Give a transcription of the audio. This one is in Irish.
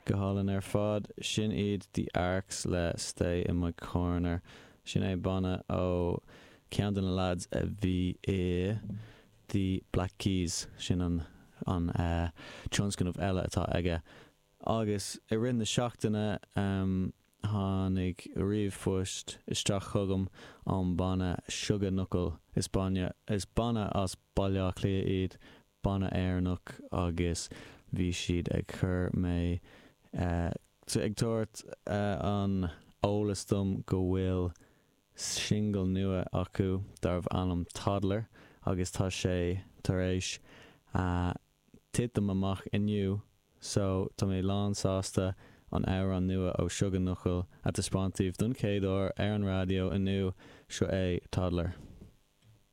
Go hálainn ar fad. Sin iad The Arcs le Stay In My Corner. Sin é banna ó ceann de na lads a bhí i The Black Keys. Sin an an tionscnamh eile atá aige. Agus i rith na seachtaine tháinig ríomhphost isteach chugam ón mbanna Sugar Knuckle. Is banna is banna as Baile Átha Cliath iad, banna Éireannach agus bhí siad ag cur mé ag tabhairt an eolas dom go bhfuil singil nua acu darbh ainm Toddler agus tá sé tar éis titim amach inniu so tá mé lán sásta an amhrán nua ó Sugar Knuckle a taispeáint daoibh don chéad uair ar an raidió inniu, seo é Toddler.